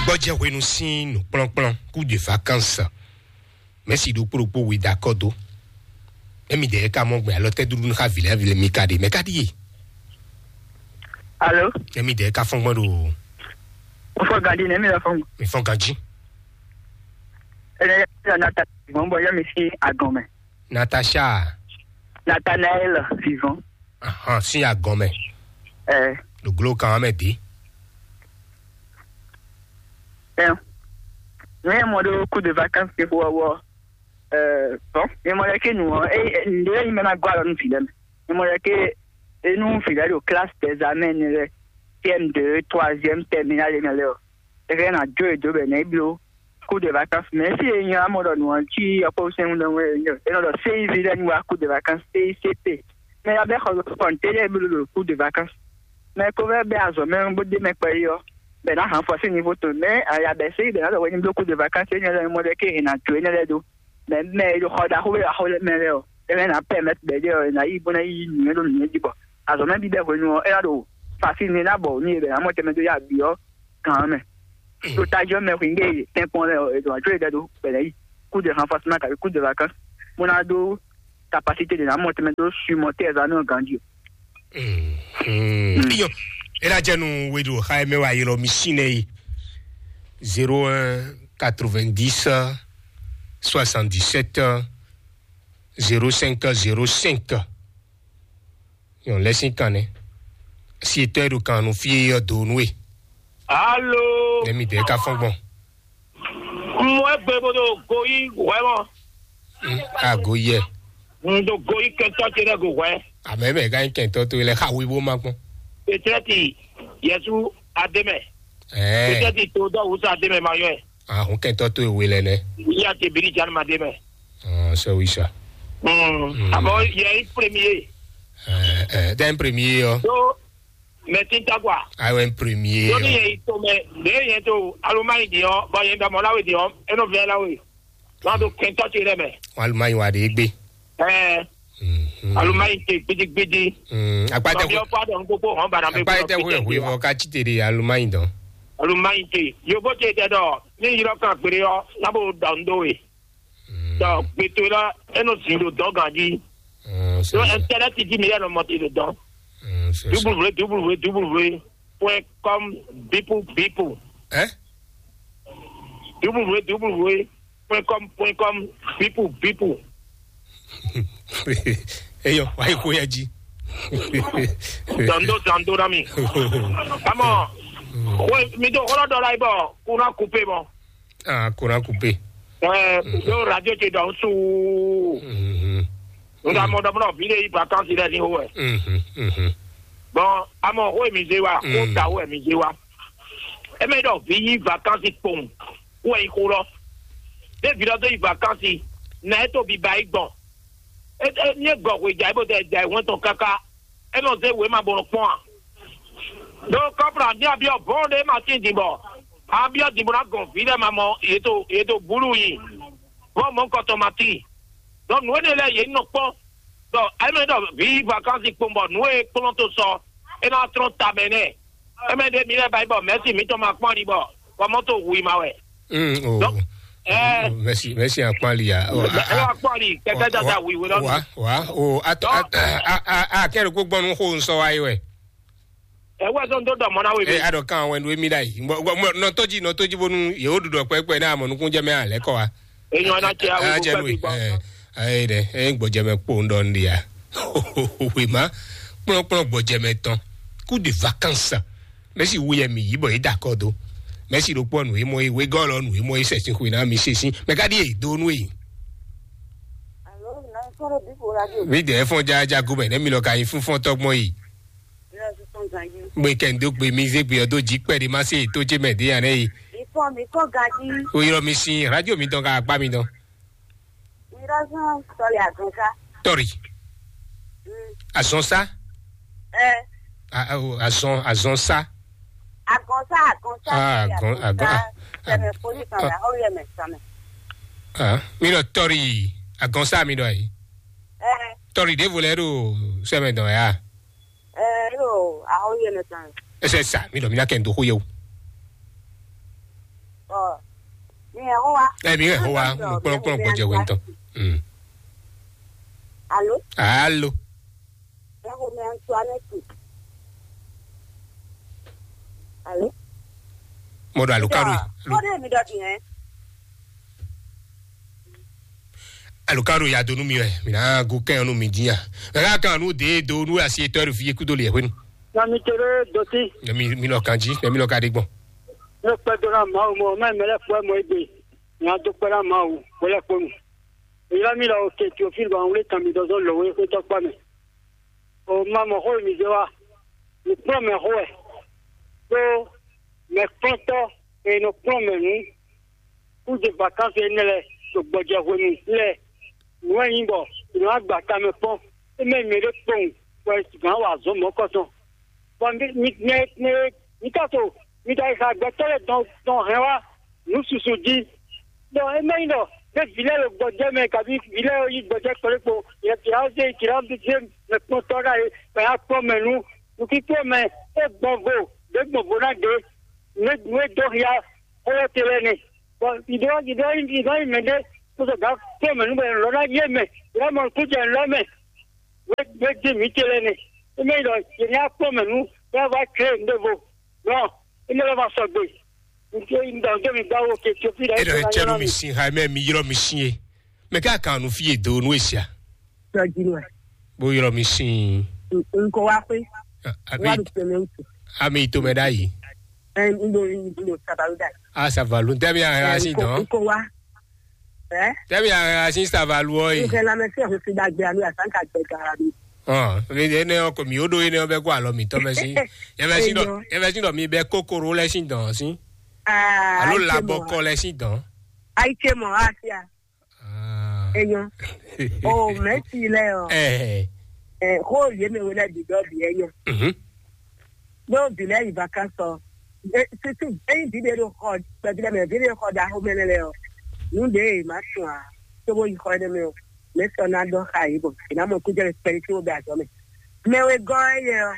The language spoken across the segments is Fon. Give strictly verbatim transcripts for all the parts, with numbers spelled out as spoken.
Gbɔjɛ hwenu sín nǔkplɔ́nkplɔ́n kú de vacances. Mɛsi ɖokpó ɖokpó we da kɔ dó. Emi dɛ ka mɔ gbɛ alɔ tɛ dúdú xa vilɛ vilɛ mi ka ɖe mɛ ka ɖi ye. Alo. Emi dɛ ka fɔn gbɔn ɖo. Fɔ gadi ne mi la fɔn. Mi fɔn ganji. Ene ya na ta gbɔn bɔ ya mi si agɔn mɛ. Natasha. Nathanael vivant. Ahan, sin agɔn mɛ. Ɛ. Ɖo glo kan mɛ di. Ɛ. Ne mo ɖo coup de vacances ke fo wɔ. Ɛ. Bon, ne mo lɛ ke nu ɔ, e ndo yi mɛ na gɔ alɔ nu fi lɛ mɛ. Ne mo lɛ ke enu fi lɛ ɖo classe d'examen ne lɛ, C M deux, troisième, terminale ne lɛ ɔ. E ke na jo e do bɛ ne blo. Coup de vacances, mais si e nyɔ amɔ ɖɔ nǔ ɔ́ cí yɔkpɔ́ sɛn ɖɔ wɛ e nɔ ɖɔ C I V lɛ ní wá coup de vacances, C I C T. Mais ya bɛ xɔ kɔntɛnɛ blo ɖo coup de vacances. Mais ko vɛ bɛ azɔ mɛ bó dé mɛ kpɛ yi ɔ, bɛ na hàn fɔ sí niveau tɔn. Mais ya bɛ C I V bɛ na ɖɔ wɛ ní blo coup de vacances, e nyɔ lɛ mɔ ɖɛ ke e na jo e nɛ lɛ do. Mais mais e ɖo xɔ ɖaxó bɛ axó mɛ lɛ ɔ, e mɛ na permettre bɛ ɖe ɔ, e na yi bó na yi nǔ e ɖo nǔ e jí bɔ azɔ mɛ bí bɛ hwenu ɔ, e na ɖo facile ni na bɔ ní e bɛ na mɔ tɛmɛ dó ya bǐ ɔ, gan mɛ. Ɖo tajɔ mɛ hwingbe tɛnkpɔn lɛ ɔ, e ɖo ajɔ e ɖɛ ɖo bɛ na yi. Coup de renforcement kabi coup de vacances. Mo na ɖó capacité de na mɔ tɛmɛ dó sumɔ tɛ ɛza nɔ ganji. Iyo, e la jɛ nu weɖo xa mɛ wa yɔrɔ mi sin nɛ yi. Zéro un quatre-vingt-dix soixante-dix-sept zéro cinq zéro cinq. Yɔn lɛ sín kan nɛ. Si etɔ́ e ɖo kan nu fí e yɔ do nú e. Alo. Nɛmi dɛ ka fɔn gbɔn. Mɔ egbe bo ɖo goyi hwɛ mɔ. Ago yɛ. N ɖo goyi kɛntɔ ce ɖe go hwɛ. Amɛ mɛ ka nyí kɛntɔ to lɛ xa wi bó ma gbɔn. Petrɛti Yesu ademɛ. Ɛɛ. Petrɛti to dɔ wusa ademɛ ma yɔ. Ahun kɛntɔ to ewe lɛ nɛ. Ya te biri jan ma demɛ. Sɛ wi sa. Abo yɛ yi premier. Ɛɛ, ɛɛ, den premier yɔ. So, mɛ tin ta quoi. Ayiwa premier. Lórí yẹn yìí tó mɛ, lè yẹn tó alumani di yɔ, bɔ yẹn dɔmɔ láwé di yɔ, ẹnu fẹ́ láwé. Wọn tó kẹntọ ti rẹ mɛ. Wọn alumani wa de gbe. Ɛɛ. Alumani te gbidigbidi. Akpa tɛ. Tɔbi ɔkpa dɔn gbogbo hɔn bana bɛ. Akpa tɛ wɛ wɛ wɔ ka ti te de alumani dɔn. Alumani te yobo te tɛ dɔ, ni yɔrɔ kan gbere yɔ, n'a bo dɔn do ye. Dɔ gbeto la, e nɔ zin ɖo dɔn ganji. Ɖo ɛntɛnɛti jí mi yɛ nɔ mɔti ɖo dɔn. W W W point com bipu bipu. Ɛ? W W W point com point com bipu bipu. Eyɔ, wa yi ko ya ji. Dɔndo dɔndo na mi. Amɔ, we mi do xɔlɔ dɔ la yi bɔ kuna kupe mɔ. Ah, courant coupé. Ɛɛ, ɖo radio ce dɔn suu. N ka mɔ ɖɔ mɔ vi ɖe yi vacances lɛ ni ho wɛ. Bon, amɔ ho mi ze wa, ko ta ho mi ze wa. E mɛ ɖɔ vi yi vacances kpɔn, ko yi ko lɔ. Ne vi ɖɔ do yi vacances, na e to bi ba yi gbɔn. E e ni e gɔ hwe ja e bo tɛ ja e wɛn tɔn kaka. E nɔ zé wěma bó nɔ kpɔ́n a? Ɖó kɔ́plɔ abyɔ́byɔ́ bɔ́n ɖé ma tín din bɔ abyɔ́ din bó ná gɔn vǐ lɛ́ɛ ma mɔ yě to yě to búlú yi, bɔ mɔ̌kɔtɔn ma tíin. Ɖɔ nǔ énɛ́ lɛ́ɛ yě nɔ kpɔ́n. Ɖɔ émɛ ɖɔ vǐ yi vakansi kpowun bɔ nǔ e kplɔ́n to sɔ é ná tlɔ́n ta mɛ nɛ́. Émɛ ɖě mi lɛ́ɛ ba yi bɔ mɛ̌si mǐtɔn ma kpɔ́n ali bɔ kɔmɔ́to hu i ma wɛ. Mm, oh. Donc, eh, merci, merci à Kpali, ah. Oh, ah, eh, ah, Kpali, kɛkɛ dada wi we lɔ. Wa, wa, oh, at, donc, at, ah, ah, ah, ah, kɛrɛ ko gbɔnu ko nsɔ wa yi wɛ. Eh, wɛ so ndo dɔ mɔ na we. Eh, ado kan wɛ ndo mi dai. Mo, mo, no toji, no toji bonu, ye o du dɔ pɛpɛ na mo nukun jɛ mɛ a lɛ kɔ wa. Enyo na che a we ko pɛ bi gbɔ. Eh, eh, de, eh, gbɔjɛ mɛ kpo ndo ndi ya. We ma, kplɔn, kplɔn gbɔjɛ mɛ tɔn. Coup de vacances. Mɛsi wu yɛ mi yi bɔ yi da kɔ do. Mɛsi ɖo kpɔ nu yi mɔ yi wegɔ lɔ nu yi mɔ yi sɛ sin xwe na mi se sin. Mɛ ka ɖi yi do nu yi. Alo, na kɔrɔ bi ko radio. Mi dɛ fɔn ja ja go mɛ ne mi lɔ ka yi fun fɔn tɔgbɔn yi. Gbe kɛ ndo gbe mi ze gbe ɔdo ji kpɛ de ma se to je mɛ de ya ne yi. Ifɔ mi kɔ gaji. O yɔrɔ mi sin radio mi dɔn ka akpa mi dɔn. Irɔzɔn tɔli azɔnsa. Tɔri. Mm. Azɔnsa. Ɛ. A, a, o, azɔn, azɔnsa. Agɔnsa, agɔnsa. Ah, agɔn, agɔn, ah, sɛmɛ ah, poli kan ah, la, o yɛ mɛ sɛmɛ. Ah, mi lɔ tɔri, agɔnsa mi dɔ yi. Ɛ. Tɔri de volɛ do sɛmɛ dɔ ya. Ɛ, yo, a o yɛ mɛ sɛmɛ. Ɛsɛ sa, mi dɔ mi na kɛ n do ko ye o. Ẹ mi hɛn xó wa, kplɔ́nkplɔ́n gbɔjɛ hwenu tɔn. Mm. Alo, Alo, ẹ xo mɛ Antoinette. Alo, Mo ɖo alukaro. Kódé mi ɖɔ din hɛn. Alukaro ya do nú mi wɛ, mi ná gu kɛn nú mi dín ya. Mɛ ká kan nú dé do nú asi etɔ́ ɖo fi kúdó lɛ hwenu. Na mi tere doti. Mɛ mi mi lɔ kan jí, mɛ mi lɔ ka ɖe gbɔn. Ne kpɛ do na Mawu mɔ, mɛ mɛ lɛ kpɛ mɔ egbe. Nya do kpɛ na Mawu, wɛ lɛ kpɔnu. Ylɔ́ mì lɔ Théophile bɔ un wlí kan mì dɔzɔ́ lǒwe xwétɔ́ kpá mɛ. O ma mɔ xó e mi zé wá, mi kplɔ́n mɛ xó wɛ, ɖó mɛ kplɔ́ntɔ́ e nɔ kplɔ́n mɛ nǔ kúze vakansi énɛ́ lɛ́ɛ ɖo gbɔjɛ hwenu lɛ́ɛ, nǔ e nyí bɔ è nɔ wá gba tamɛ kpɔ́n, é mɛ mɛ ɖé kpowun wɛ gǎn wa azɔ̌ mɔ̌kɔtɔn. Bɔ mi mi mi mi mi ka to mi ka yi xa gbɛtɔ́ lɛ́ɛ dɔn dɔn hɛn wá nǔ susu jí. Ɖɔ é mɛ nyí ɖɔ ɖé vǐ lɛ́ɛ ɖo gbɔjɛ́ mɛ, kabi vǐ lɛ́ɛ yi gbɔjɛ́ kplé kpo, yɛ tǐ ná zé tǐ ná zé mɛ kpɔ́ntɔ́ ɖa é, bɔ yá kpɔ́n mɛ nú nukínkplɔ́n mɛ é gbɔn vo, ɖě gbɔn vo ná ɖě, nú é dó hia xó lɛ́ɛ te lɛ́ɛ nɛ. Bɔ yě ɖɔ yě ɖɔ yě ɖɔ yě mɛ ɖé kó sɔ gǎn kplɔ́n mɛ nú bɔ yě lɔ ná yé mɛ, yě ná mɔ nukún jɛ nǔ lɔ mɛ. Wé wé dín mǐ ce lɛ́ɛ nɛ. É mɛ nyí ɖɔ yě ní akpɔ́n mɛ nú bɔ é wá tlé nǔɖévo. Nɔ, énɛ́ lɔ ma sɔgbe. Nké un ɖɔ nké mi gbá wo ke Ethiopie ɖɔ Eɖɔ é cɛ nú mi sin ha mɛ mi ylɔ́ mi sin e. Mɛ ká kan nu fí e do nú e sia. Tɔjinu ɛ. Bó ylɔ́ mi sin. Nko wa xwé. Wa Abi ɖo tɛmɛ wutu. Ami to mɛ ɖ'ayi. Ɛ n ɖo n ɖo sabalu da. A savalu ntɛ mi a ha sin dɔn. Nko wa. Ɛ. Tɛ mi a ha sin savalu ɔ yi. Nko la mɛ se ho si dagbe anu asan ka gbɛ gara bi. Ɔ mi de ne ɔ ko mi o ɖo yi ne ɔ bɛ kó alɔ mi tɔ mɛ si. Yɛ mɛ si dɔ yɛ mɛ si dɔ mi bɛ kokoro lɛ si dɔn si. Aa. Alo labɔkɔ lɛ si dɔn. Ayi ce mɔ asia. Enyo. O mɛsi lɛ ɔ. Ɛɛ. Ɛ xo yé mɛ wele bi dɔ bi enyo. Mhm. Ɖó vǐ lɛ́ɛ yi vakánsɔ. Susu ényí vǐ ɖé ɖo xɔ kpɛví lɛ́ɛ mɛ, vǐ ɖé ɖo xɔ ɖaxó mɛ lɛ́ɛ ɔ, nǔ ɖě e má sun ǎ, cóbó yi xɔ énɛ́ mɛ ɔ, mɛ̌ sɔ́ ná ɖɔ xá yě bɔ è nǎ mɔ kújɛ kpɛɖé cóbó bɛ azɔ̌ mɛ. Mɛ wegɔ́ éyɛ́ ɔ́,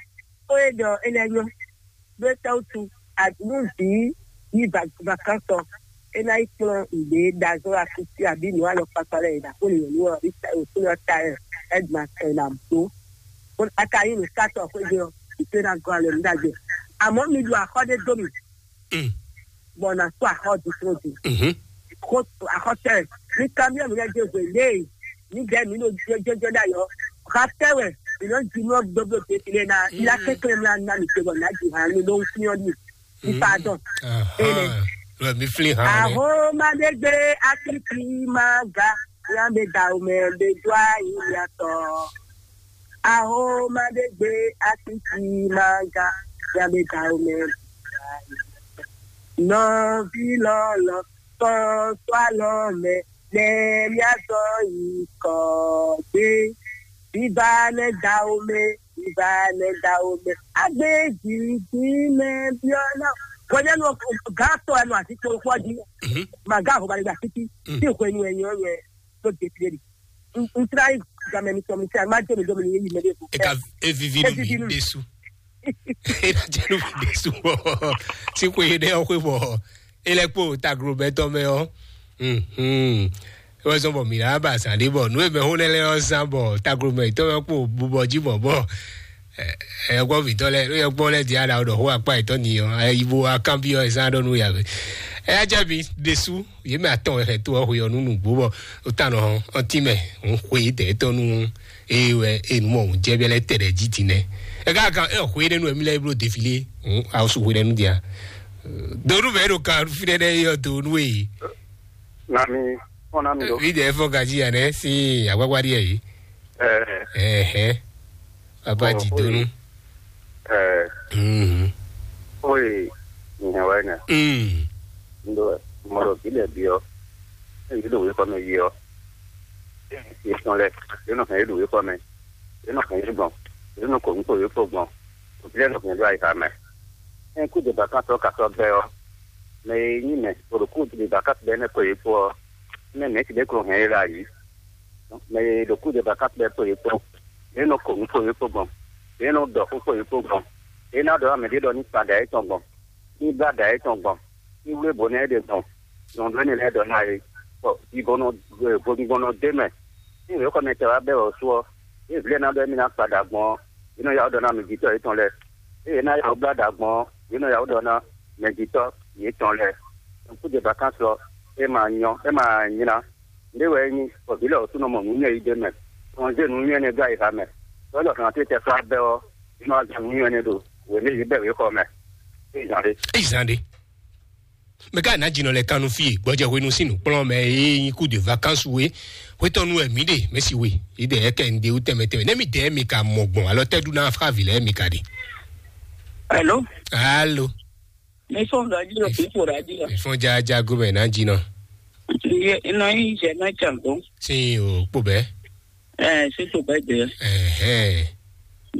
xó e ɖɔ é lɛ́ nyɔ́, ɖó é tɛ́ wútu nú vǐ yi vakánsɔ, é ná yi kplɔ́n nǔɖé ɖazɔ́ asúsí abǐ nǔ alɔkpakpa lɛ́ɛ e ɖo aklúnɔ nyɔ̌nu ɔ́, abǐ wěkwín ɔ́ ta ɛ, é gbɔn atɔn e nǎ bló. Bó a ka nyí nǔsatɔ́ xwéjé ɔ́, ìtó ná gɔ́ alɔ nǔ ɖagbe. Àmọ́ mi ɖu axɔ́ ɖé dó mì, Mm. Bɔ nǎ kpó axɔ́ ɖisúnɔ din. Mhm. Xó axɔ́ tɛ́ mi kanbyɔ́ mi lɛ́ dó hwe léè mi dɛ́ mi ɖo jɔjɔjɔ ɖ'ayǐ ɔ́, xa tɛ́ wɛ mi nɔ ji nú ɔ́ gbégbé ɖe fi lé ná, mi ná kɛnklɛ́n mi ná ná mi te bɔ nǎ ji hǎn mi ɖó nú fí ɔ́ ɖi. Mi pardon. Ahan. Lɔ mi flin hàn ni. Ahoma ɖé gbé akíkí má ga, yá mi da omɛ ɖé dó ayǐ mi atɔ. Ahoma ɖé gbé akíkí má ga, yá mi da omɛ. Nɔví lɔlɔ, kɔ sɔ alɔ mɛ, nɛ mía zɔ yi kɔ gbé. Viva nɛ da omɛ, viva nɛ da omɛ. Agbe jiji mɛ biɔ na. Kɔjá nu gã tɔ ɛnu àti kpokpɔ di. Mhm. Màgá àhóbá nígbà títí. Mm. Tí ìkó ẹnu ẹ̀yìn ọ̀rọ̀ ẹ̀ ló dé tiẹ̀ rí. N tra yìí gàmẹ́ mi sọ mi tí a má jẹ́ mi dọ́mi ní yéyí mẹ́lẹ́ fún. Eka evivi nu mi Evivi nu. Desu. Ena jẹ́ nu mi desu. Si kò yé dẹ́ ọ́ pé bọ̀. Ele kpo taglobɛtɔ mɛ ɔ. Mhm. Wezɔn bɔ mi la ba sa ɖe bɔ nu eme ho ne le ɔ san bɔ taglobɛtɔ mɛ kpo bubɔ ji bɔ bɔ. Ɛ gbɔ vitɔ lɛ, nu yɛ gbɔ lɛ di ada ɖɔ ho akpa etɔ ni ɔ. Ɛ ibo akan bi ɔ san ɖɔ nu ya be. Ɛ ya jɛ bi desu ye mɛ atɔn wɛ xɛ to ɔ ho yɔ nu nugbo bɔ o ta nɔ ɔnti mɛ n xwe dɛ etɔ nu. Eye wɛ enu mɔ òun jɛ bɛ lɛ tɛ ɖɛ jí din nɛ. Ɛ ká kan ɛ xwe ɖe nu emi lɛ blo defile. Awo su xwe ɖe nu dia. Donu bɛ ɖo kan fi ɖe ɖe yɔ donu e. Na mi fɔn na mi do. Mi dɛ fɔ gaji ya nɛ si agbagba ɖi yɛ yi. Ɛɛ. Ɛhɛ. Papa Ɔ, di donu. Ɛɛ. Mhm. Oye nyɛ wɛ nɛ. Mm. Ndo mɔdɔ bi lɛ bi ɔ. Eyi do wekɔ mɛ yi ɔ. Yetɔn lɛ, yé nɔ hɛn yé ɖo yé kɔ mɛ, yé nɔ hɛn yé gbɔn, yé nɔ kɔ nukɔ yé kɔ gbɔn, òbí lɛ nɔ hɛn ɖo ayixa mɛ. Ɛn kú de bàkán tɔ ka sɔ bɛ ɔ, mɛ e nyí mɛ, o ɖo kú de bàkán bɛ nɛ kɔ yé kpó ɔ, mɛ mɛ ti ɖe kɔ hɛn yé la yi, mɛ e ɖo kú de bàkán bɛ kɔ yé kpó, yé nɔ kɔ nukɔ yé kɔ gbɔn, yé nɔ dɔ xó kɔ yé kɔ gbɔn, yé ná dɔ amɛ ɖé dɔ ní kpa ɖa yé tɔn gbɔn, ní blá ɖa yé tɔn gbɔn, ní wlé bǒ nɛ é ɖe gbɔn, Nɔ ɖó énɛ́ lɛ́ɛ ɖɔ ná é. Bɔ vivɔnɔ vodúngbɔnɔ d'é mɛ. Ní wěxɔmɛ tɛ wá bɛ́ wɛ sú ɔ́, é vǐ lɛ́ɛ ná ɖɔ émí ná kpa ɖa gbɔn ɔ́, é nɔ yá wó ɖɔ ná mɛ jǐtɔ́ yětɔn lɛ́ɛ. Ée é ná yá wó blá ɖa gbɔn ɔ́, yě nɔ yá wó ɖɔ ná mɛ jǐtɔ́ yětɔn lɛ́ɛ. Kúdé vakánsɔ é ma nyɔ é ma nylá. Nɖé wɛ é nyí bɔ vǐ lɛ́ɛ ɔ́ sú nɔ mɔ nǔ nyɛ yi d'é mɛ. Nɔ zé nǔ nyɛ énɛ́ dó ayixa mɛ. Lɔ̌ ɖɔ kan tɛ́ tɛ sɔ́ abɛ ɔ́, é nɔ wá zé nǔ nyɛ énɛ́ ɖo wěmí yě bɛ wěxɔ mɛ. É zǎn ɖé. Éyi zan ɖe. Mɛ ka ná jinɔ lɛ kannu fie gbɔjɛ hwenu sín nǔkplɔ́n mɛ e nyí kú de vakansu we hwetɔnu wɛ mǐ ɖe mɛ si we yi ɖe yɛ kɛ ŋɖe wú tɛmɛ tɛmɛ nɛ mi dɛ mi ka mɔ gbɔn alɔ tɛ ɖu ná xá vi lɛ mi ka ɖe. Hello. Alo. Mi fɔn radio, mi fɔn radio. Mi fɔn jaja gomɛ ná jinɔ. Ye nɔ yi jɛ na can gbɔn. Sin o kpo bɛ. Ɛɛ, sísè bɛ jɛ. Ɛhɛn.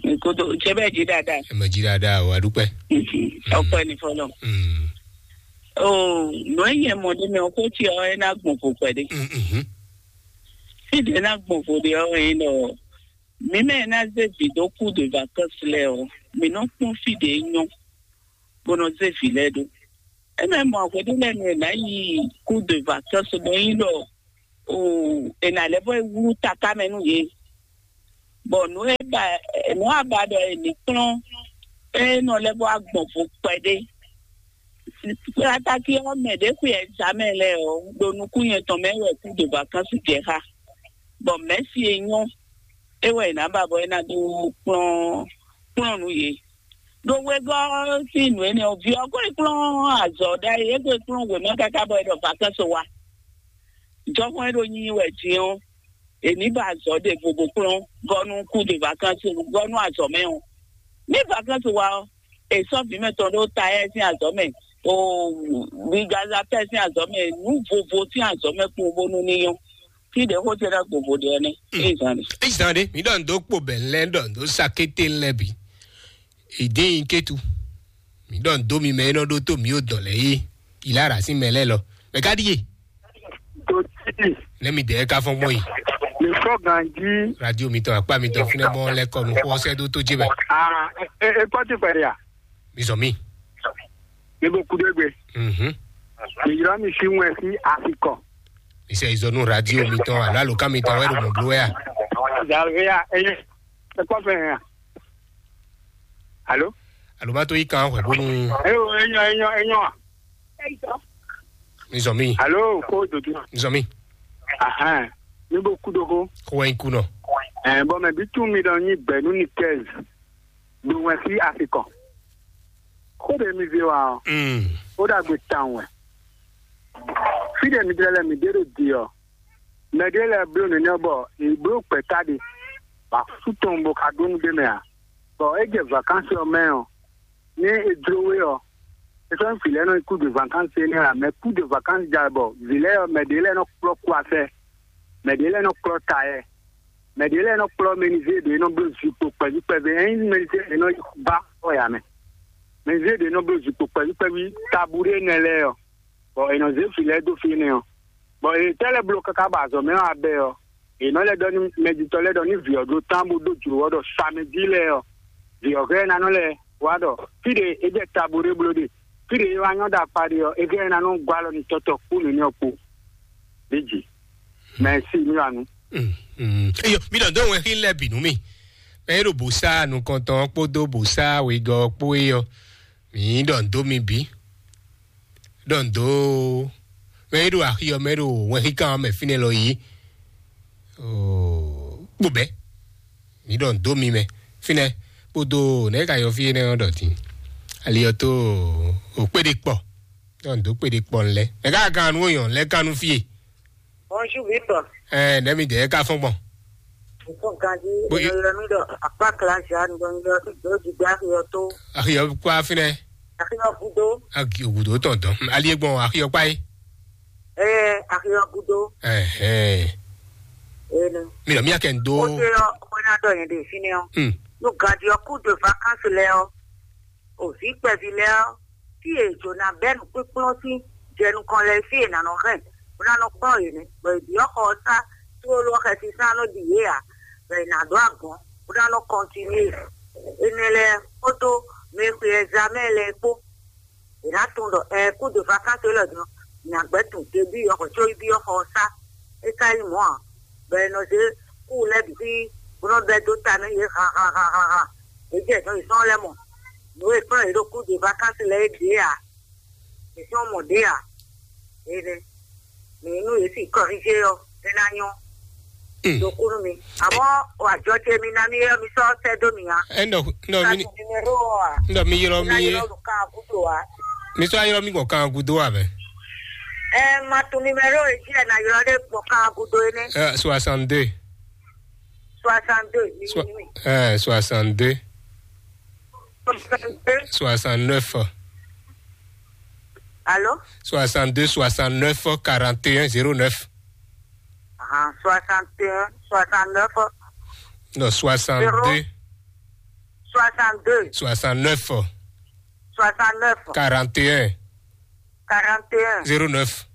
Nkoto cɛ bɛ jí dáadáa. Ɛ mɛ jí dáadáa o, adúpẹ́. Ọpẹ́ ní fọlọ́. Mm. O nù ẹ yẹ mọ ɖé mɛ, ọkọ tí ọ ẹ ná gbọn kó pẹ dé. Mm, mhm. Fídíò ná gbọn kó dé ọ ẹ lọ. Mi mɛ ná zé vidéo kú de vacances lɛ ọ. Mi nɔ kpɔn fídíò nyɔ. Bó nɔ zé vi lɛ ɖó. Eme mɔ hweɖé lɛ́ɛ nu è nǎ yi kú de vacances bɔ nyí ɖɔ o è nǎ lɛ́ bɔ é wlú taká mɛ nú yě. Bɔ nǔ e ba nǔ a ba ɖɔ è nǐ kplɔ́n é nɔ lɛ́ bɔ agbɔn vo kpɛɖé. Kplátákí ɔ́ mɛ ɖě xwe ɛzamɛ lɛ́ɛ ɔ́ ɖo nukún nyɛ tɔn mɛ wɛ kú de vacances jɛ xá. Bɔ mɛ̌si e nyɔ́ é wɛ è nǎ ba bɔ é ná dó kplɔ́n kplɔ́n nú yě. Ɖo wegɔ́ sín nǔ énɛ́ ɔ́, vǐ ɔ́ ko yi kplɔ́n azɔ̌ ɖ'ayǐ, é ko yi kplɔ́n wěma káká bɔ é ɖɔ vacances wá. Jɔhɔn e ɖo nyi wɛ din ɔ́, è ní ba azɔ̌ ɖěvo bó kplɔ́n gɔ́ nú kú de vacances gɔ́ nú azɔ̌ mɛ ɔ́. Ní vacances wá ɔ́, è sɔ́ vǐ mɛtɔn ɖó Tayɛ́ sín azɔ̌ mɛ, o Gaza pɛ́ sín azɔ̌ mɛ, nǔ vovo sín azɔ̌ mɛ kpowun bónú ní nyɔ́. Fí ɖě xó ce ɖɔ gbogbo ɖe ɔ́ nɛ́. Mm. Ézan ɖe. Ézan ɖe, mi ɖɔ ndo kpo bɛ lɛ ɖɔ ndo sa kété lɛ bi. Ìdí yín kétu. Mi ɖɔ ndo mi mɛ e nɔ ɖó tó mi ó dɔn lɛ yé. Ìlà rà sí mɛ lɛ lɔ. Mɛ ká ɖíe. Tó tí. Nɛ mi dɛ ka fɔn gbɔn yi. Lè fɔ ganji. Radio mi tɔn akpa mi tɔn fúnɛ bɔ lɛ kɔ nu xɔ sɛ ɖó tó jé bɛ. Ah, e e kpɔ ti pɛ ya. Mi zɔn mi. Mi bo kudo egbe. Mhm. Mi yra mi si ŋue si asikɔ. Mi sɛ izɔnu radio mi tɔn alo alo kan mi tɔn wɛ ɖo mɔ blo ya. Javeya enye. E kpɔ fɛ ya. Alo. Alo ma to yi kan hwɛ bonu. Eyo enyo enyo enyo. Mi zɔn mi. Alo ko dodo. Mi zɔn mi. Ahan. Mi bo kudo ko. Ko wɛ iku nɔ. Eh, bon, mais bitu mi dans ni benu ni quinze. Ɖo wɛn fí afikɔ. Xó ɖe mi zé wa ɔ́, Mm. Ó ɖagbe tawun wɛ. Fí ɖe mi jlɛ́ lɛ mi ɖe ɖo di ɔ́, mɛ ɖé lɛ́ɛ bló nɛnɛ́ bɔ è bló gbɛ̌ta ɖe, bɔ asú tɔn bo ka ɖó nú ɖé mɛ ǎ. Bɔ é jɛ vakansi ɔ́ mɛ ɔ́, ní è jló we ɔ́, é sɔ́ nyí vǐ lɛ́ɛ nɔ nyí kú de vakansi énɛ́ ǎ, mɛ kú de vakansi ja bɔ vǐ lɛ́ɛ ɔ́, mɛ ɖě lɛ́ɛ nɔ kplɔ́ kú afɛ, mɛ ɖě lɛ́ɛ nɔ kplɔ́ ta yɛ. Mɛ ɖě lɛ́ɛ nɔ kplɔ́ mɛnizée ɖě nɔ bló zinkpo kpɛví kpɛví, é nyí mɛnizée ɖě nɔ yi ba xɔ ya mɛ. Mɛnizée ɖě nɔ bló zinkpo kpɛví kpɛví tabuɖé nɛ lɛ́ɛ ɔ́, bɔ è nɔ zé vǐ lɛ́ɛ dó fí énɛ́ ɔ́. Bɔ è tɛ́ lɛ́ bló káká bɔ azɔ̌ mɛ ɔ́ abɛ ɔ́, è nɔ lɛ́ ɖɔ nú mɛjitɔ́ lɛ́ɛ ɖɔ ní vǐ ɔ́ ɖó tán bó dó jlǒ ɔ́ ɖɔ samɛjí lɛ́ɛ ɔ́, vǐ ɔ́ hɛn ná nɔ lɛ́ wá ɖɔ fí ɖě é jɛ tabuɖé bló ɖe, fí ɖě é wá nyɔ́ ɖo akpa ɖe ɔ́, é hɛn ná nɔ gɔ́ alɔ nú tɔ́tɔ́ kpó nǔnywɛ́ kpó. Ɖěji. Mɛ̌si mi wà nú. Eyo, mi ɖɔ dó wɛn xí lɛ bǐ nú mi. Mɛ e ɖo bǔsá nukɔntɔn kpódó bǔsá wegɔ́ kpó é ɔ́, mi ɖɔ dó mi bǐ. Ɖɔ dó mɛ e ɖo axi ɔ́ mɛ ɖo wɛn xí kan ɔ́ mɛ fínɛ́ lɔ yí. Kpó bɛ́. Mi ɖɔ dó mi mɛ. Fínɛ́ kpódó nɛ̌ ka yɔ fí énɛ́ ɔ́ ɖɔ din. Ali ɔ́ tó o kpéɖé kpɔ. Ɖɔ dó kpéɖé kpɔ lɛ. Nɛ̌ ka kan nú oyɔn lɛ kan nú fí e. Bonjour, Victor. Ɛ, nɛ̌ mi dɛ ká fɔ́n gbɔn? Victor Gandhi, Bo- eno yɔ mi ɖɔ akpa kla Jean, ɖo mi ɖɔ ɖo didi axi ɔ́ tó. Axi ɔ́ kpá fínɛ́. Axi ɔ́ gúdo. Axi ɔ́ gúdo tɔn dɔn. Ali e gbɔn axi ɔ́ kpá yé. Ɛɛ, axi ɔ́ gúdo. Ɛhɛn. Ene. Mi lɔ mi akɛ n do. O te ɔ, o na dɔ yɛn de fini ɔ. Hmm. No Gandhi ɔ coup de vacances lɛ ɔ. O vi kpɛvi lɛ ɔ. Fí e jǒ ná bɛ́ nǔkpínkplɔ́n sín jɛ nukɔn lɛ́ɛ fí e nǎ nɔ hɛn, bó ná nɔ kplɔ́n yě nɛ́, bɔ è byɔ́ xɔ ɔ́ sá tlóló ɔ́ xɛsi sán nɔ ɖi yě ǎ, bɔ è nǎ ɖó agɔ̌n, bó ná nɔ kɔntinué. Énɛ́ lɛ́ɛ kpódó mɛ e xwe ɛzamɛ lɛ́ɛ kpó, è nǎ tunwun ɖɔ ɛɛ kú de vakánsé lɔ din ɔ́, Nyagbɛ́ tun te byɔ́ xɔ có yi byɔ́ xɔ ɔ́ sá. É ka nyí mɔ̌ ǎ, bɔ è nɔ zé kú lɛ́ɛ bǐ xwí bó nɔ́ bɛ́ dó ta nú yě han han han han han. Yě jɛ nǔ yětɔn lɛ́ɛ mɔ. Nǔ e kplɔ́n yě ɖo kú de vakansi lɛ́ɛ é ɖě ǎ. Yě sɔ́ mɔ ɖě ǎ. Énɛ́. Mǐ nú yě si kɔrízé ɔ́, é ná nyɔ́. Ɖo kú nú mi. Àmọ́ ajɔ ce mi ná mi ɔ́, mi sɔ́ sɛ́ dó mi ǎ. Ɛ ndɔ ndɔ mi Ka to numéro ɔ́ ǎ. Ndɔ mi ylɔ mi Ná ylɔ ɖo kan gúdo ǎ. Mi sɔ́ ylɔ mi gbɔn kan gúdo ǎ mɛ. Ɛ ma to numéro e jí ɛ ná ylɔ ɖé gbɔn kan gúdo énɛ́. Ɛ soixante-deux. Soixante-deux, mi Soi- mi. Ɛ soixante-deux. Soixante-deux. Soixante-neuf. Allô? Soixante-deux, soixante-neuf, quarante et un, zéro neuf. Ah, soixante et un, soixante-neuf, Non, soixante-deux, soixante-deux, soixante-neuf, soixante-neuf, quarante et un, quarante et un, zéro neuf.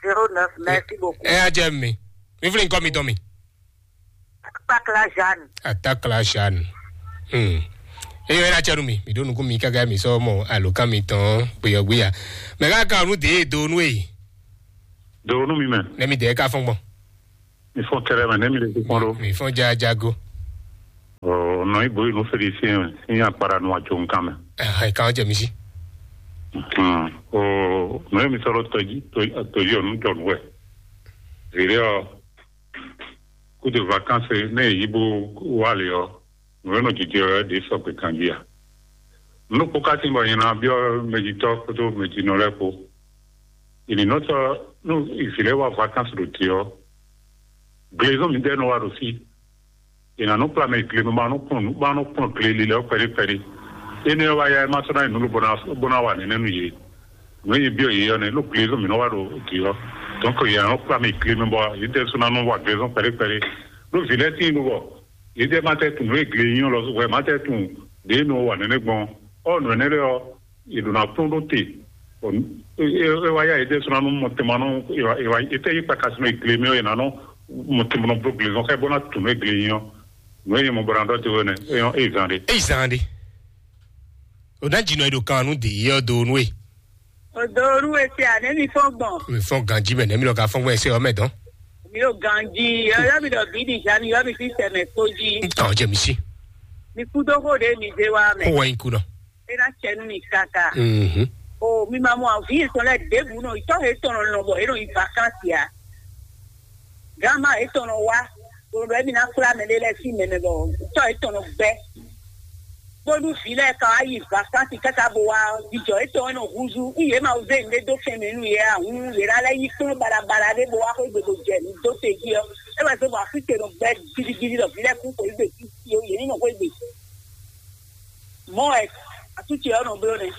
Zéro neuf. Merci beaucoup. Ɛ adze mi. Mi vle nkɔ mi dɔn mi. Atakla Jeanne. Atakla Jeanne. Hmm. Eyo ena tsɛnu mi, mi ɖo nukun mi káká mi sɔ mɔ alokan mi tɔn gbeyɔgbeya. Mɛ ká kan nu de do nu e. Do nu mi mɛ. Ne mi de ka fɔn gbɔn. Mi fɔn kɛrɛ mɛ ne mi le kpɔn ɖo. Mi fɔn ja jago. Ɔ nɔ ibo yi nu Félicien mɛ, ní akpara nu ajo nkan mɛ. Ɛ kan jɛ mi si. Hmm. O nɔ mi sɔrɔ tɔji tɔji ɔnu jɔ nu wɛ. Vire ɔ. Coup de vacances ne yi bo wá lě ɔ́, nǔ e nɔ jijɛ wɛ ɖě sɔgbe ganjí ǎ. Nǔ kpó ka tín bɔ nyɛ ná byɔ́ mɛjitɔ́ kpódó mɛjinɔ lɛ́ɛ kpó. È nǐ nɔ sɔ́ nú vǐ lɛ́ɛ wá vacances ɖo te ɔ́, glezɔ́n mǐdɛɛ nɔ wá ɖo fí. È nǎ nɔ kplá mɛ glenu ma nɔ kplɔ́n nǔ ma nɔ kplɔ́n gle lilɛ ɔ́ kpɛɖé kpɛɖé. Énɛ́ ɔ́ wá ya ɛ má sɔ́ ná nyí nǔ lobo ná bó ná wa nɛnɛ́ nú yě. Nǔ e nyí byɔ́ yě ɔ́ nɛ́, ɖó glezɔ́n mǐ nɔ wa ɖo dǐ ɔ́. Donc yě nɔ kplá mɛ glenu bɔ yě ɖɛ́ sú ná nɔ wa glezɔ́n kpɛɖé kpɛɖé. Ɖó vǐ lɛ́ɛ tíin ɖo bɔ yě ɖɛ́ má tɛ́ tunwun nǔ e gle nyí ɔ́ lɔ wɛ má tɛ́ tunwun ɖě nɔ wa nɛnɛ́ gbɔn. Ɔ́ nǔ énɛ́ lɛ́ɛ ɔ́, è ɖo ná kplɔ́n ɖó te. Bɔ é wá yá yě ɖésú ná nú mɔtɛnmanɔ, è tɛ́ yí kpaka sinɔ gle mɛ ɔ́, è nǎ nɔ mɔtɛnmanɔ bló gle zɔn xá bó ná tunú é gle nyí ɔ́. Nǔ e nyɛ mɔ bɔ ná ɖɔ te wɛ nɛ, é nyɔ́ é zan ɖe. Eyi zan ɖe. O ná dzi nɔ e ɖo kan nú dě yé ɔ́ do nú e. O do nú e se ane mi fɔn gbɔn. Mi fɔn ganji mɛ nɛ mi lɔ ka fɔn gbɔn ɛsɛ ɔmɛ dɔn. Mi o ganji, yɔ mi ɖɔ bi di ja mi yɔ mi fi sɛmɛ kpo ji. N tàn jẹ mi si. Mi kú dó xó ɖe mi zé wa mɛ. Kó wá yín kú nɔ. E ná cɛ nú mi kaka. Mhm. O mi ma mɔ avi yetɔn lɛ ɖěbǔ nɔ itɔ he tɔn nɔ bɔ e nɔ yi vakansi a. Gama etɔn nɔ wá. Bolo bɛ mi na kpla mɛ ɖe lɛ si mɛ mɛ bɔ itɔ etɔn nɔ gbɛ. Bónú vǐ lɛ́ɛ ka wá yi vakansi káká bó wá jijɔ etɔn e nɔ húzú. Yě ma zé nǔɖé dó fɛn mɛ nú yě a hǔn yě ná lɛ́ yí kplɔ́n baɖabaɖa ɖé bó wá xwé gbe bó jɛ nǔ dó te jí ɔ́. É wɛ zé bɔ afí te nɔ gbɛ gidigidi ɖɔ vǐ lɛ́ɛ kú xwé gbe títí ó, yě ní nɔ xwé gbe. Mɔ̌ wɛ atútsi ɔ́ nɔ bló nɛ́.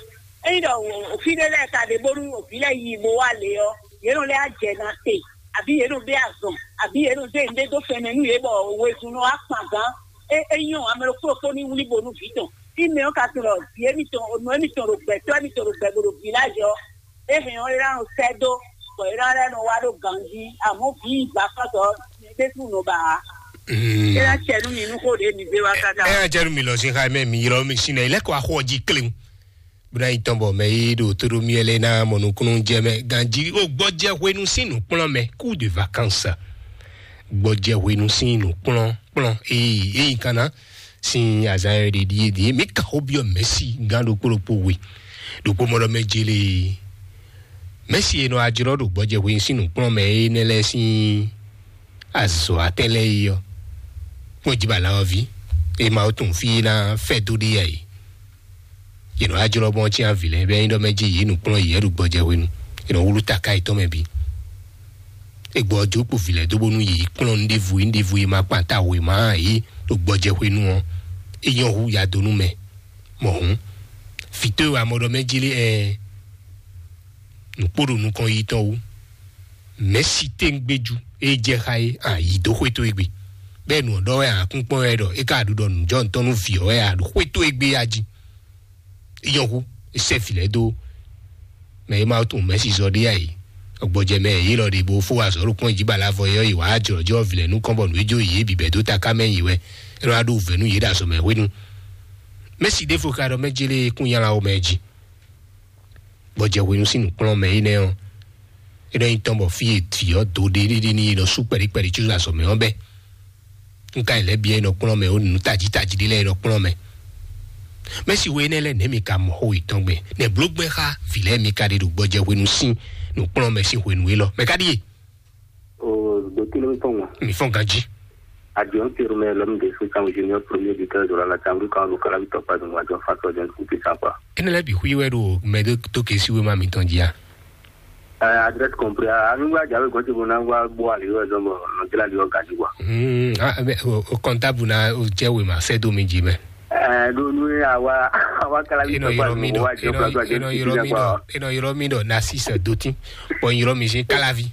Ényí ɖɔ òfí ɖé lɛ́ɛ ka ɖe bónú òfí lɛ́ɛ yi bó wá lě ɔ́, yě nɔ lɛ́ á jɛ na te, àbí yě nɔ bɛ́ azɔn, àbí yě nɔ zé nǔɖé dó fɛn mɛ nú yě bɔ wezun nɔ wá kpan gán. É é nyɔ́ ame ɖokpó ɖokpó ní wlí bo nú vǐ tɔn. Fí mɛ ɔ́ ka tunwun ɖɔ vǐ émítɔn, nǔ émítɔn ɖo gbɛ̌tɔ́ émítɔn ɖo gbɛ bo ɖo vǐ lajɛ ɔ́, é hɛn ɔ́ é ná nɔ sɛ́ dó, bɔ é ná lɛ́ nɔ wá ɖó ganjí. Amɔ̌ vǐ yi gbǎkɔ́tɔ́, mi ɖésú nɔ ba ǎ. É ná cɛ nú mi nú xó ɖě mi zé wá káká. Ɛ jɛ nu mi lɔ sin xa mɛ mi ylɔ mi sin na ilẹkọ axɔ ji klewu. Buna yi tɔn bɔ mɛ yi ɖo to ɖo miɛ lɛ na mɔ nukunu jɛ mɛ ganji o gbɔjɛ hwenu sin nukplɔn mɛ coup de vacances. Gbɔjɛ hwenu sin nukplɔn kplɔn eyi eyi kana sin azan yɛ ɖe ɖie ɖie mi ka xo biɔ mɛsi gan ɖokpo ɖokpo we ɖokpo mɔ ɖɔ mɛ jele mɛsi e nɔ ajlɔ ɖo gbɔjɛ hwenu sin nukplɔn mɛ enɛ lɛ sin azɔ atɛ lɛ yi ɔ kpɔn ji bala ɔ vi e ma wo tun fi na fɛ do ɖe yɛ yi. Yě nɔ wá jlɔ́ bɔ ɔ́ cyán vǐ lɛ́ɛ bɔ é nyí ɖɔ mɛ jí yě nǔkplɔ́n yě ɖo gbɔjɛ hwenu. Yě nɔ wlú taká yětɔn mɛ bǐ. È gbɔ ɔ́ jó kpo vǐ lɛ́ɛ dó bónú yě yi kplɔ́n nǔɖévu nǔɖévu e ma kpan ta wěma ǎ é ɖo gbɔjɛ hwenu ɔ́, é nyɔ́ hú ya dó nú mɛ. Mɔ̌ hǔn, vǐ towe wɛ a mɔ ɖɔ mɛ jí lé ɛɛ nǔkpó ɖo nukɔn yi tɔn wú. Mɛ̌si tɛ́ngbéjú e jɛ xá é a yi dó xwé towe gbe. Bɛ́ nǔ ɔ́ ɖɔ wɛ a kún kpɔ́n wɛ ɖɔ é ka ɖu ɖɔ nǔjɔnǔtɔn nú vǐ ɔ́ wɛ a ɖo xwé towe gbe a jí. Yɔnxu sɛ vǐ lɛ́ɛ dó mɛ e ma tunwun mɛ̌si zɔ ɖé a yi. Gbɔjɛ mɛ yě lɔ ɖe bó fó azɔ̌ ɖo kpɔ́n jí bala vɔ yɔ yi wǎ jlɔ̌jlɔ́ vǐ lɛ́ɛ nukɔn bɔ nǔ e jó yě bǐ bɛ̌ dó taká mɛ yi wɛ é nɔ wá ɖó wǔvɛ́ nú yě ɖo azɔ̌ mɛ hwenu. Mɛ̌si ɖěvo ka ɖɔ mɛ jélé kún nylá wo mɛ jí. Gbɔjɛ hwenu sín nǔkplɔ́nmɛ énɛ́ ɔ́, É nɔ nyí tɔn bɔ fí e vǐ ɔ́ dó ɖéɖéɖé ní é nɔ sú kpɛɖíkpɛɖí có azɔ̌ mɛ ɔ́ bɛ́. Un ka yi lɛ́ byɔ́ é nɔ kplɔ́n mɛ, ó nǔ tají tají ɖé lɛ́ɛ é nɔ kplɔ́n mɛ. Mɛ̌si we énɛ́ lɛ́ɛ nɛ̌ mi ka mɔ xó yětɔn gbɛn? Nɛ̌ bló gbɛn xá vǐ lɛ́ɛ mi ka ɖe ɖo gbɔjɛhwenu sín nǔkplɔ́nmɛ sín hwenu élɔ́? Mɛ ka ɖíe? O, ɖo kí ló ń tɔn wọn? Mi fɔ́n ganjí. Adiɔn terme lɔm de so kan junior premier du quinze de la chambre kan lo kala victor pas de mois de fa so den kupi sa pa. Énɛ́ lɛ́ɛ bǐ xwí wɛ ɖo mɛ ɖé tó ke sí wéma mitɔn jí a? Adresse compris. Anu wa jawe gɔnti bo na wa bo ali wa zɔn bɔ nɔjila li wa gaji wa. Hmm, ah, mais o, o comptable na o jẹ́ wéma sẹ́ dó mi jí mɛ. Ɛɛ, ɖo nu ye awa awa kala Eno victor pas yɔrɔ mi de dɔ, mois de eno fa so den eno yɔrɔ mi dɔ, eno yɔrɔ mi dɔ na six dotin. Bon yɔrɔ mi sin kalavi.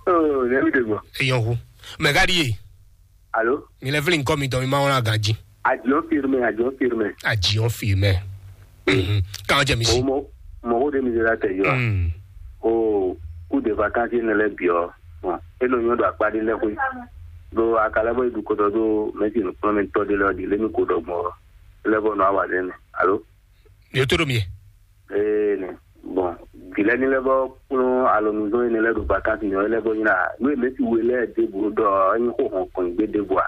Oh, ne mi de gbɔ. Eyan hu. Mais gadi ye. Alo? Mi lɛ fili nkɔ mi tɔ mi ma wɔn aganji. Adiɔn firme, adiɔn firme. Adiɔn firme. Mhm. Kan jɛ mi si. Mɔgɔ de mi de la tɛ yɔ. Mm. O coup de vacances ne lɛ biɔ. Bon, e nɔ nyɔ do akpa de lɛ koe. Do akalɛ bɔ idu kɔtɔ do mɛsi nukplɔnmɛtɔ de lɛ ɔdi lɛ mi ko dɔ gbɔ. Lɛ bɔ nɔ awa de ne. Alo? Yo to do mi. Ee ne. Bon, dilɛ ni lɛ bɔ kplɔn alɔnuzɔn ne lɛ do vacances nyɔ lɛ bɔ nyina. No e mɛsi we lɛ de bu dɔ enyi ko hɔn kɔn gbe de bua.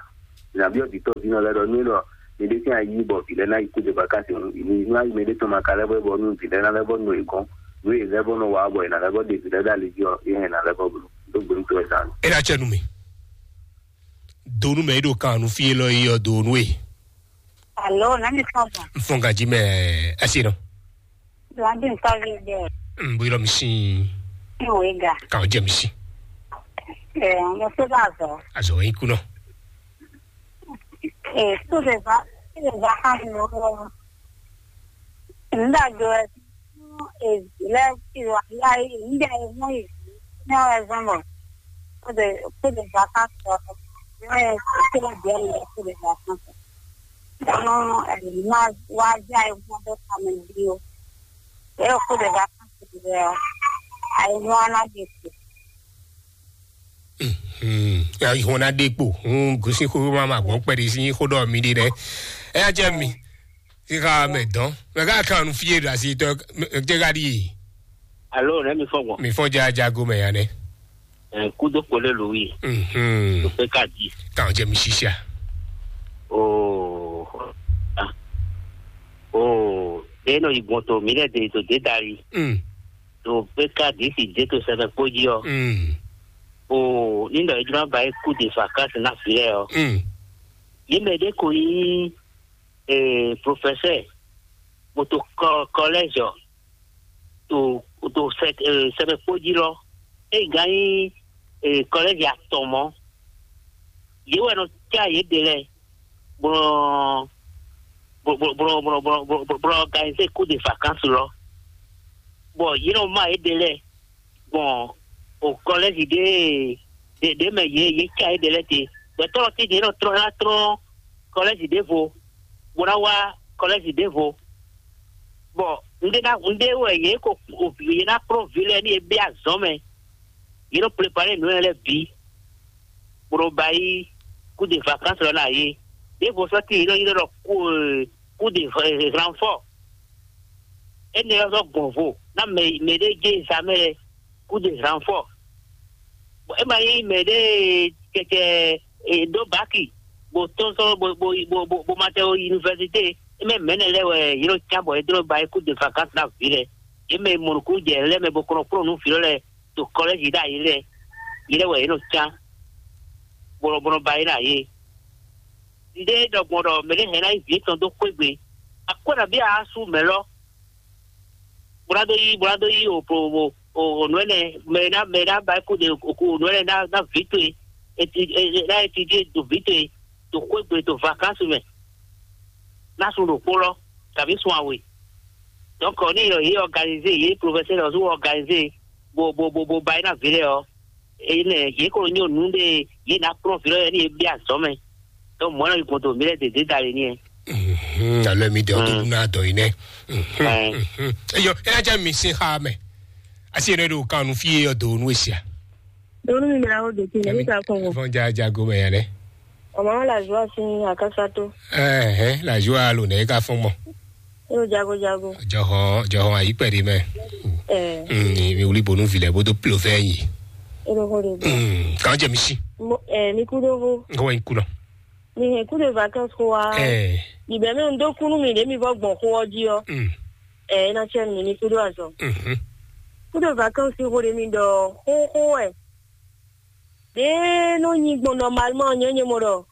Nyabiɔ vitɔ vinɔ lɛ dɔ nu dɔ mi de sin ayi bɔ vile na yi coup de vacances nu. Ni nu ayi mɛ de tɔn ma ka lɛ bɔ bɔ nu vile na lɛ bɔ nu e gɔn. Nu e lɛ bɔ nɔ wa bɔ e na lɛ bɔ de vile da le ɔ e hɛn na lɛ bɔ blo. Do gbe nu to e dan. E da cɛ nu mi. Do nu mɛ e do kan nu fi e lɔ yi ɔ do nu e. Alo, na mi fɔn bɔ. N fɔn ganji mɛ ɛsi nɔ. Blandy n tɔgɔ de. N buyɔrɔ mi si. N wo ga. Kan jɛ mi si. Ɛ, n so ba zɔ. Azɔ yi kunɔ. Ɛ, so de va, so de va kan lo. N da do ɛ, ɛ, lɛ ti wa ya yi, n da e mo yi. N ya zɔn bɔ. So de, so de va kan so. N ya so de bɛ so de va kan so. Ɔn, ɛ, ma wa ja e mo do kan mi bi o. Ɛ, so de va kan so de ɔ. Ai mo na de. Hmm, ya ihɔn na ɖe kpo. Hmm, gosi xo ma ma gbɔn kpɛɖi si xo ɖɔ mi ɖi ɖɛ. Ɛ ya jɛ mi. Si xa mɛ dɔn. Mɛ ka kan nu fie ɖo asi tɔ. Jɛ ka ɖi. Alo, ne mi fɔ gbɔ. Mi fɔ ja jago mɛ ya nɛ. Ɛ, kudo kpole lo wi. Mhm. To pe ka di. Kan jɛ mi sisia. Oh. Ah. Oh, de no igbɔn to mi lɛ de to de dari. Mm. To pe ka di si de to sɛbɛ kpo ji ɔ. Mm. O, ní ɖɔ é jló ná ba é kú de vacances ná vǐ lɛ́ɛ ɔ́. Mm. Yě mɛ ɖé ko nyí, eh, professeur, bó to kɔ-, collège ɔ́, to, to sɛ-, eh, sɛbɛ kpo jí lɔ. É gán nyí, eh, collège atɔn mɔ̌. Yě wɛ nɔ cá yě ɖe lɛ́ɛ, bó nɔ, bó, bó, bó nɔ, bó nɔ, bó nɔ, bó nɔ, bó nɔ organiser coup de vacances lɔ. Bɔ yě nɔ má yě ɖe lɛ́ɛ. Gbɔn o kɔlɛzi ɖe ɖe ɖe mɛ yě yě ca yě ɖe lɛ te. Gbɛtɔ́ ɔ́ tɛ́ntin é nɔ tlɔ́n é ná tlɔ́n kɔlɛzi ɖěvo, bó ná wá kɔlɛzi ɖěvo. Bɔ un ɖe ná un ɖe wɛ yě ko yě ná kplɔ́n vǐ lɛ́ɛ ní yě bɛ́ azɔ̌ mɛ. Yě nɔ prepare nǔ lɛ́ɛ lɛ́ɛ bǐ, bó nɔ ba yí kú de vacances lɔ ná yé. Ɖěvo sɔ́ tíin yě nɔ ylɔ́ ɖɔ kú kú de renfort. Énɛ́ ɔ́ zɔ́ gbɔn vo ná mɛ mɛ ɖé jɛ zamɛ lɛ kú de renfort. Bɔ é ma nyí mɛ ɖé kɛkɛ e ɖó baki, bo tɔ́n sɔ́ bo bo bo bo bo ma tɛ o université. É mɛ mɛ̌nɛ lɛ́ɛ wɛ yě nɔ cá bɔ é dó ba é kú de vacances ná vǐ lɛ. É mɛ mɔnukú jɛ lɛ́ mɛ bo kɔnɔ kplɔ́n nú vǐ lɔ lɛ to kɔlɛ́zi ɖ'ayǐ lɛ. Yě lɛ́ɛ wɛ yě nɔ cá bɔ nɔ bɔ nɔ ba é ná yé. Nde ɖɔ gbɔn ɖɔ mɛ ɖé hɛn ná yi vǐ tɔn dó xwé gbe. Akwɛ́ nabí a sú mɛ lɔ. Bó ná dó yí bó ná dó yí o o o nǔ ɛnɛ mɛ ná mɛ ná ba kú de o nǔ ɛnɛ ná ná vǐ towe. Eti ná eti dí do vǐ towe, do xwé gbe do vacances mɛ. Ná sun ɖokpó lɔ tàbí sun awe. Donc ní yɔ yé organisé, yé professeur lɔ zó organisé, bo bo bo bo ba é ná vǐ lɛ ɔ. Eye nɛ yě ko nyɔ nǔ ɖe yě ná kplɔ́n vǐ lɔ yɛ ní yě bia azɔ̌ mɛ. Donc mɔ̌ nɔ yi gbɔn to mǐ lɛ́ɛ dě dé da le ní ɛ. Mhm, alɔ mi dɔ tó dún náà dɔ yìí nɛ. Mhm, Ɛɛ. Mhm. Eyɔ, ɛ ajá mi sin xa mɛ. Asi yẹn ɖo kan nu fi yɛ dɔ nu esia. Donu mi mìíràn ó dòtí ní níta kàn wọ́n. Fɔn ja jago mɛ yẹn lɛ. Ọmọ wọn là zọ sí àkásá tó. Ɛhɛn, la joie alo nɛ ka fɔn mɔ. Ó jago jago. Jɔhɔn jɔhɔn ayi pɛ ɖi mɛ. Ɛ, Mm, mi wuli bonu vilɛ bodo plovɛ yi. Ero ho de. Mm, kan jɛ mi si. Mo ɛ mi ku do ho. Ko wa yi ku nɔ. Mi hɛn ku de vacances ko wa. Ɛ. Mi bɛ mi do kunu mi de mi vɔ gbɔn ko ɔ ji ɔ. Mm. Ɛ na tiɛ mi mi ku do azɔ. Mhm. Ku de vacances ko de mi dɔ ho ho ɛ. De no nyi gbɔn normalement nyɛ nyɛ mo dɔ.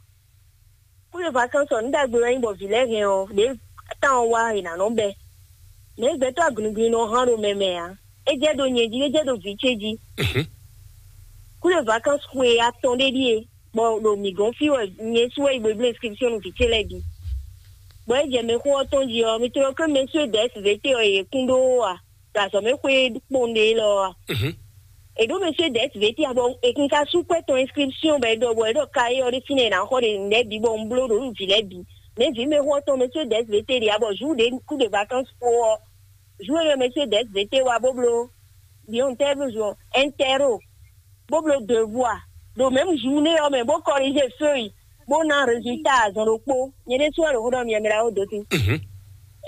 Kúɖe vacances ɔ́, nǔ ɖagbe wɛ nyí bɔ vǐ lɛ́ɛ hɛn ɔ́, ɖě tán ɔ́ wá è nǎ nɔ bɛ́. Mɛ̌ gbɛtɔ́ agunugunu nɔ hán ɖo mɛ mɛ ǎ. É jɛ ɖo nyɛ jí, é jɛ ɖo vǐ ce jí. Mhm. Kúɖe vacances xwe atɔn ɖé ɖíe, bɔ ɖo mǐ gɔ́n fí wɛ nyɛ sú wɛ yi bo bló inscription nú vǐ ce lɛ́ɛ bǐ. Bɔ é jɛ mɛxó ɔ́ tɔn jí ɔ́, mi tlɔ ké mɛ sú é dɛ̌ S V T ɔ́, yě kún ɖó a? Ɖo azɔ̌ mɛ xwé kpowun ɖé élɔ́ ɔ́ a? Mhm. È ɖǒ mɛ sú é dɛ̌ S V T a, bɔ è kún ka sú kwɛ́ tɔn inscription bɔ è ɖɔ bɔ è ɖɔ ka é ɔ́ ɖé fínɛ́ è nǎ xɔ ɖe nǔɖé bǐ bɔ un bló ɖo nú vǐ lɛ́ɛ bǐ. Mɛ vǐ mɛ xó ɔ́ tɔn mɛ sú é dɛ̌ S V T ɖe a, bɔ jour ɖě kú ɖe vacances kpó ɔ́, jour énɛ́ mɛ sú é dɛ̌ S V T wá bó bló biɔn tɛ́ bló zɔn ɛntɛ́ro, bó bló devoir ɖo mɛ̌m journée ɔ́ mɛ bó corriger feuille bó ná résultat azɔn ɖokpó. Nyɛ ɖésú wɛ ɖo xó ɖɔ mi ɛmɛ ɖaxó dó sí. Mhm.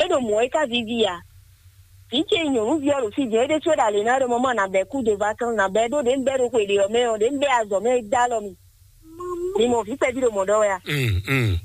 É ɖo mɔ̌ é ka víví a? Vǐ ce nyɔ̌nuví ɔ́ ɖo fí jɛ́n é ɖésú wɛ ɖo alě ná ɖɔ mɔmɔ nǎ bɛ́ kú de vacances nǎ bɛ́ ɖó ɖě un bɛ́ ɖo xwe ɖě ɔ́ mɛ ɔ́, ɖě un bɛ́ azɔ̌ mɛ é dó alɔ mi. Mi mɔ vǐ kpɛví ɖo mɔ̌ ɖɔ wɛ a? Mm, mm.